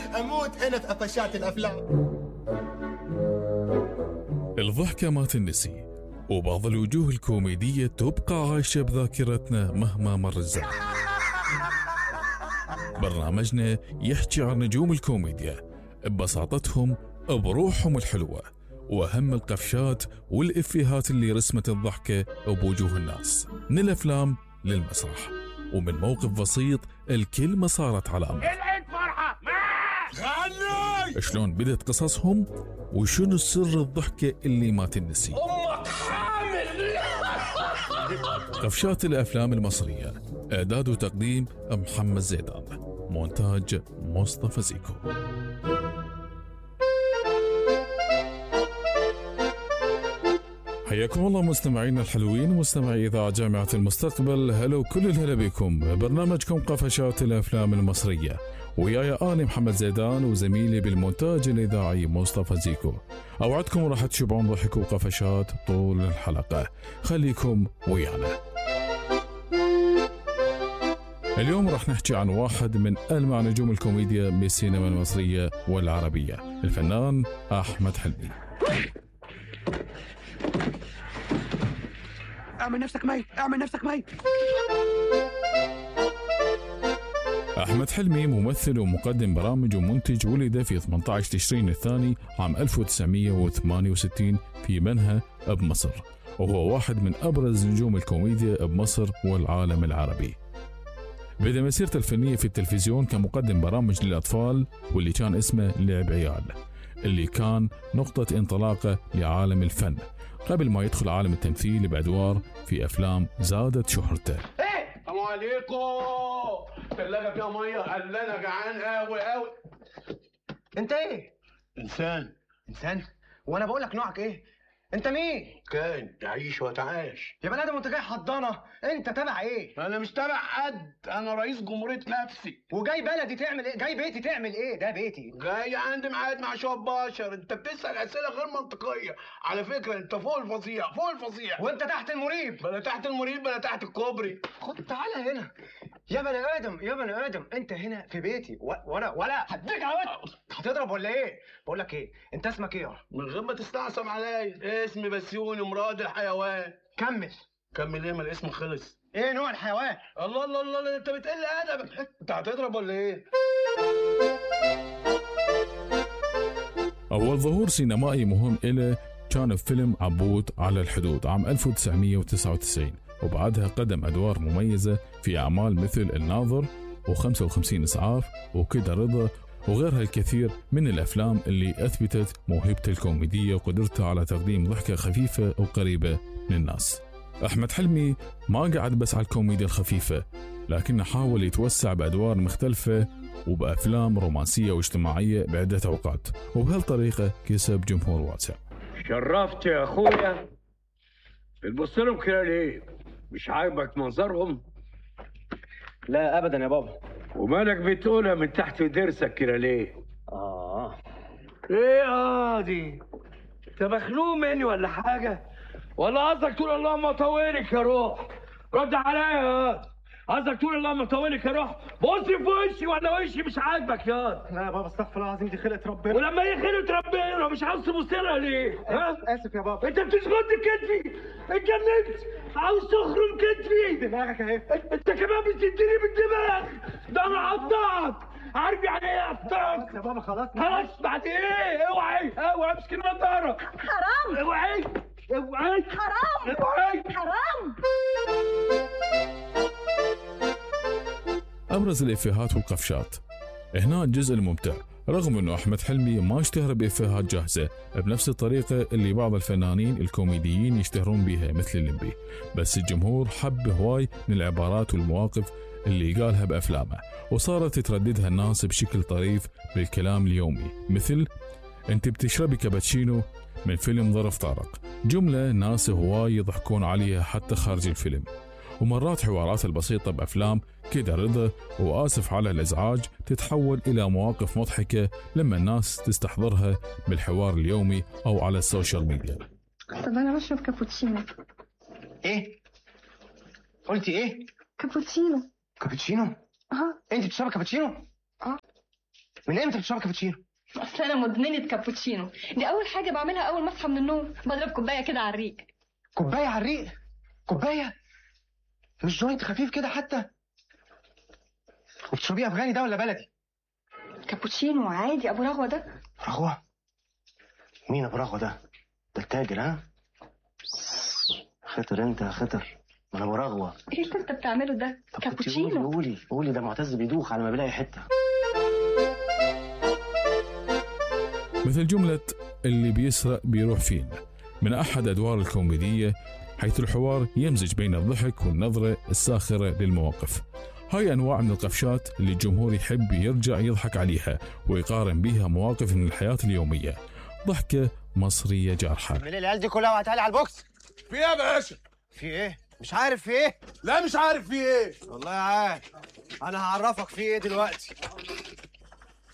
اموت انا في قفشات الافلام. الضحكة ما تنسي، وبعض الوجوه الكوميدية تبقى عايشة بذاكرتنا مهما مر الزمن. برنامجنا يحكي عن نجوم الكوميديا ببساطتهم، بروحهم الحلوة، وأهم القفشات والإفيهات اللي رسمت الضحكة بوجوه الناس، من الأفلام للمسرح، ومن موقف بسيط الكلمة صارت علامة. العيد فرحة غني! شلون بدت قصصهم، وشنو سر الضحكة اللي ما تنسي. أمك حامل. قفشات الأفلام المصرية، إعداد وتقديم محمد زيدان، مونتاج مصطفى زيكو. حياكم الله مستمعينا الحلوين، مستمعي إذاعة جامعة المستقبل. هلا وكل الهلا بكم برنامجكم قفشات الأفلام المصرية، وياي أنا محمد زيدان وزميلي بالمونتاج الإذاعي مصطفى زيكو. أوعدكم راح تشبعون ضحك وقفشات طول الحلقة، خليكم ويانا. اليوم راح نحكي عن واحد من ألمع نجوم الكوميديا بالسينما المصرية والعربية، الفنان أحمد حلمي. اعمل نفسك ميت، اعمل نفسك ميت. أحمد حلمي ممثل ومقدم برامج ومنتج، ولد في 18 تشرين الثاني عام 1968 في منها بمصر، وهو واحد من أبرز نجوم الكوميديا بمصر والعالم العربي. بدأ مسيرته الفنية في التلفزيون كمقدم برامج للأطفال، واللي كان اسمه لعب عيال، اللي كان نقطة انطلاقه لعالم الفن، قبل ما يدخل عالم التمثيل بأدوار في أفلام زادت شهرته. ايه السلام عليكم. ثلاجة فيها مية، قال انا جعان قوي قوي. انت ايه؟ انسان؟ وانا بقول لك نوعك ايه؟ انت مين؟ كان تعيش وتعاش يا بني ادم وانت جاي حضانه، انت تبع ايه؟ انا مش تبع حد، انا رئيس جمهورية نفسي. وجاي بلدي تعمل ايه؟ جاي بيتي تعمل ايه؟ ده بيتي. جاي عندي ميعاد مع شوية بشر. انت بتسأل اسئلة غير منطقية على فكرة. انت فوق الفظيع، فوق الفظيع. وانت تحت المريب. بلا تحت المريب بلا تحت الكوبري. خد تعالى هنا يا بني ادم، يا بني ادم، انت هنا في بيتي وانا ولا هديك على وقت. هتضرب ولا ايه؟ بقول لك ايه، انت اسمك ايه؟ من غير ما تستعصم عليا، اسمي بسيوني مراد الحيوان. كمل ايه؟ ما الاسم خلص. ايه نوع الحيوان؟ الله الله الله، انت بتقل ادبك. انت هتضرب ولا ايه؟ أول ظهور سينمائي مهم إله كان في فيلم عبود على الحدود عام 1999، وبعدها قدم أدوار مميزة في أعمال مثل الناظر و55 إسعاف وكده رضا وغيرها الكثير من الأفلام اللي أثبتت موهبته الكوميدية وقدرته على تقديم ضحكة خفيفة وقريبة من الناس. أحمد حلمي ما قعد بس على الكوميديا الخفيفة، لكنه حاول يتوسع بأدوار مختلفة وبأفلام رومانسية واجتماعية بعدة أوقات، وبهالطريقة كسب جمهور واسع. شرفت يا أخويا. بتبص لهم كده ليه؟ مش عاجبك منظرهم؟ لا ابدا يا بابا. ومالك بتقولها من تحت ضرسك كده ليه؟ ايه دي؟ انت مخنوق مني ولا حاجة؟ ولا قصدك تقول اللهم طولك يا روح؟ رد عليا. قصدك تقول اللهم طولك يا روح؟ بص في وشي ولا وشي مش عاجبك يا لا يا بابا استغفر الله العظيم، دي خلقة ربنا. ولما هي خلقة ربنا مش عاوز تبص لها ليه؟ اسف يا بابا. انت بتشغل كتفي، اتجننت، عاوز تخرم كتفي. دماغك اهي. انت كمان بتديني بالدماغ، ده انا هقطعك. عارف يعني ايه اقطعك؟ يا بابا خلاص بعد ايه؟ اوعي امسك النضاره. حرام. اوعي حرام. حرام. أبرز الإفيهات والقفشات. هنا الجزء الممتع، رغم أنه أحمد حلمي ما اشتهر بإفيهات جاهزة بنفس الطريقة اللي بعض الفنانين الكوميديين يشتهرون بها مثل الليمبي، بس الجمهور حب هواي من العبارات والمواقف اللي قالها بأفلامه، وصارت ترددها الناس بشكل طريف بالكلام اليومي، مثل أنت بتشربي كابتشينو من فيلم ظرف طارق، جملة ناس هواي يضحكون عليها حتى خارج الفيلم. ومرات حوارات البسيطة بأفلام كده رضا وآسف على الإزعاج تتحول إلى مواقف مضحكة لما الناس تستحضرها بالحوار اليومي أو على السوشيال ميديا. طب أنا بشرب كابوتشينو. إيه؟ قلتي إيه؟ كابوتشينو. كابتشينو؟ أها. أنت بتشربي كابتشينو؟ من امتى بتشرب كابتشينو؟ اصل انا مدمنه كابوتشينو، دي اول حاجه بعملها اول ما اصحى من النوم، بضرب كوبايه كده على الريق. كوبايه على الريق؟ كوبايه؟ مش جوينت خفيف كده حتى؟ وبتشربيه افغاني ده ولا بلدي؟ كابوتشينو عادي ابو رغوه ده. رغوه؟ مين ابو رغوه ده؟ ده التاجر ها؟ خطر انت يا خطر، ما انا ابو رغوه. ايه اللي انت بتعمله ده؟ طب كابوتشينو. قولي ده معتز بيدوخ على ما بيلاقي حته. مثل جملة اللي بيسرق بيروح فينا من أحد أدوار الكوميدية، حيث الحوار يمزج بين الضحك والنظرة الساخرة للمواقف. هاي أنواع من القفشات اللي الجمهور يحب يرجع يضحك عليها ويقارن بيها مواقف من الحياة اليومية. ضحكة مصرية جارحة. من العيال دي كلها وهتعالي على البوكس. في ايه يا باشا؟ في ايه؟ مش عارف في ايه؟ لا مش عارف في ايه. والله عارف. انا هعرفك في ايه دلوقتي.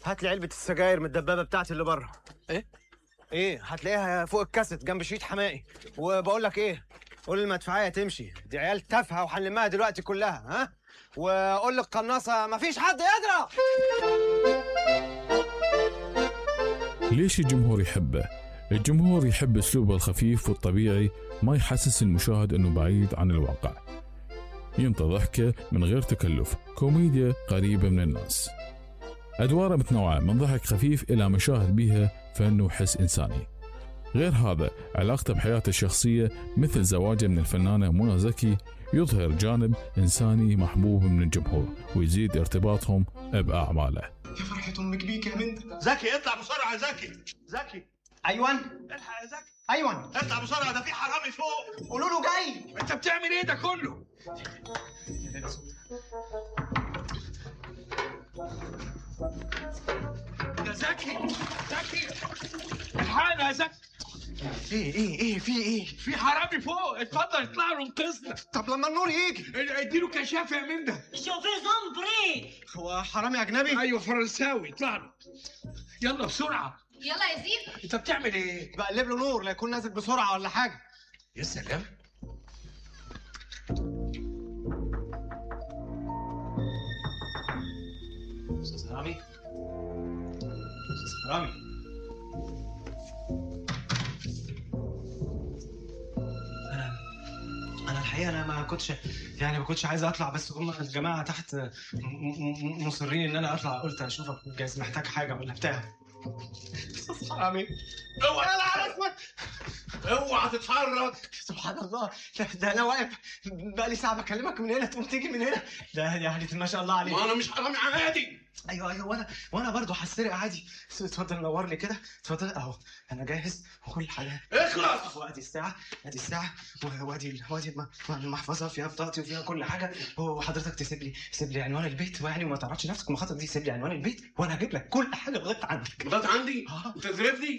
هات لي علبة السجاير من الدبابة بتاعتي اللي بره. ايه؟ هتلاقيها فوق الكاسيت جنب شريط حمائي. وبقول لك ايه؟ قول المدفعية تمشي، دي عيال تافهة وهنلمها دلوقتي كلها، ها؟ وقول للقناصة مفيش حد يضرب. ليش الجمهور يحبه؟ الجمهور يحب أسلوبه الخفيف والطبيعي، ما يحسس المشاهد أنه بعيد عن الواقع. ينطى ضحكة من غير تكلف، كوميديا قريبة من الناس. أدواره متنوعة من ضحك خفيف إلى مشاهد بها فن وحس إنساني. غير هذا علاقته بحياته الشخصية مثل زواجه من الفنانة منى زكي يظهر جانب إنساني محبوب من الجمهور ويزيد ارتباطهم بأعماله. يا فرحة امك بيك يا بنت. زكي اطلع بسرعة. زكي ايوان الحق يا زكي. ايوان اطلع بسرعة، ده في حرامي فوق. قولوا له جاي. انت بتعمل ايه ده كله؟ يا زكي الحقنا يا زكي. ايه في ايه؟ في حرامي فوق، اتفضل اطلع له انقذنا. طب لما النور يجي. اديله كشاف يا من ده. هو حرامي اجنبي؟ ايوه فرنساوي، اطلع له يلا بسرعه. يلا يا زيد. انت بتعمل ايه؟ بقلب له نور لا يكون نازل بسرعه ولا حاجه. يا سلام. استاذ رامي. استاذ رامي. انا الحقيقه انا ما كنتش عايز اطلع، بس هم الجماعه تحت مصرين ان انا اطلع. قلت اشوفك جايز محتاج حاجه ولا بتاع. استاذ رامي. اوعى على اسمك، اوعى تتحرك. سبحان الله، ده انا واقف بقالي ساعه بكلمك من هنا تقوم تيجي من هنا. ده يعني ما شاء الله عليك. ما انا مش حرامي عادي. ايوه وانا برضه هسرق عادي. اتفضل نورني كده، اتفضل اهو انا جاهز وكل حاجه. اخلص. وادي الساعه وادي المحفظه فيها بطاقتي وفيها كل حاجه. وحضرتك تسيب لي عنوان البيت، ويعني ما تعرضش نفسك المخاطره دي. سيب لي عنوان البيت وانا هجيب لك كل حاجه لغايه عندك. لغايه عندي؟ تزرفني؟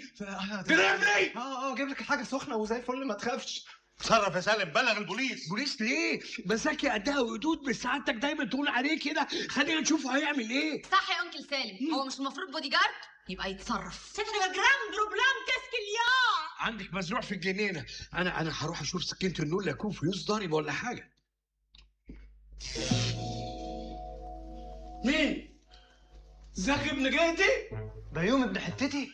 تزرفني؟ اجيب لك الحاجه سخنه وزي الفل ما تخافش. تصرف يا سالم، بلغ البوليس. بوليس ليه؟ مساكي قدها وقدود، بس سعادتك دايما تقول عليه كده. خلينا نشوفه هيعمل ايه. صح يا انكل سالم، هو مش المفروض بودي جارد؟ يبقى يتصرف. عندك مزروع في الجنينه. انا هروح اشوف سكينه النور لا يكون فيوز ضارب ولا حاجه. مين؟ زكي ابن جهتي؟ بيوم ابن حتتي؟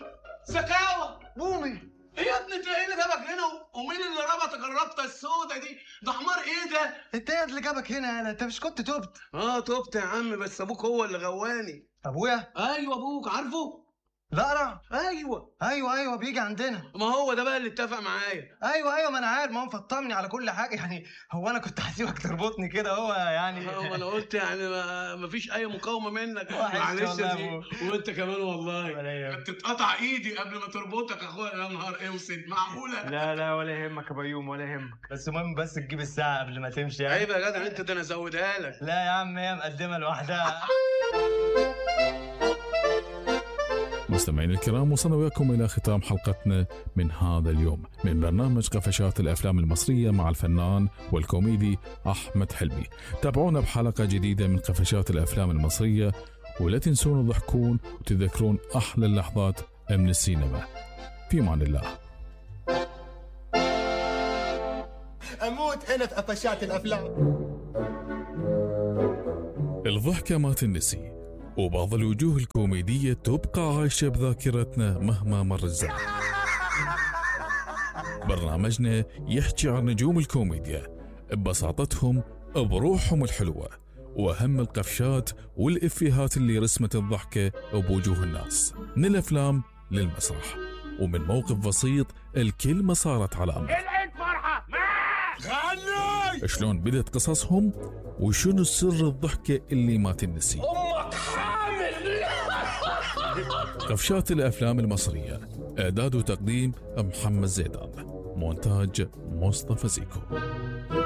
زكاوة بومي. ايه يا ابني، انت ايه اللي جابك هنا؟ ومين اللي ربطك الربطه السوداء دي؟ ده حمار ايه ده؟ انت ايه اللي جابك هنا؟ انت مش كنت تبت؟ تبت يا عم، بس ابوك هو اللي غواني. ابويا؟ ايوه ابوك، عارفه؟ لا ايوه بيجي عندنا. ما هو ده بقى اللي اتفق معايا. ايوه ما انا عارف، ما هو مفطمني على كل حاجه. يعني هو انا كنت هسيبك تربطني كده؟ هو يعني ما انا قلت يعني ما فيش اي مقاومه منك. معلش يا زين. وانت كمان والله كنت تتقطع ايدي قبل ما تربطك اخويا. يا نهار اسود، معقوله؟ لا ولا يهمك يا بيوم ولا يهمك، بس المهم بس تجيب الساعه قبل ما تمشي يعني. عيب يا جدع انت، ده انا ازودها لك. لا يا عم هي مقدمه لوحدها. مستمعين الكرام، وصلنا وياكم إلى ختام حلقتنا من هذا اليوم من برنامج قفشات الأفلام المصرية مع الفنان والكوميدي أحمد حلمي. تابعونا بحلقة جديدة من قفشات الأفلام المصرية، ولا تنسون تضحكون وتذكرون أحلى اللحظات من السينما. في أمان الله. اموت انا في قفشات الافلام. الضحكة ما تنسي، وبعض الوجوه الكوميدية تبقى عايشة بذاكرتنا مهما مر الزمن. برنامجنا يحكي عن نجوم الكوميديا ببساطتهم، بروحهم الحلوة، وأهم القفشات والإفيهات اللي رسمت الضحكة بوجوه الناس، من الأفلام للمسرح، ومن موقف بسيط الكلمة صارت علامة. العيد فرحة شلون بدت قصصهم وشنو سر الضحكة اللي ما تنسي. أمك حامل. قفشات الأفلام المصرية، إعداد وتقديم محمد زيدان، مونتاج مصطفى زيكو.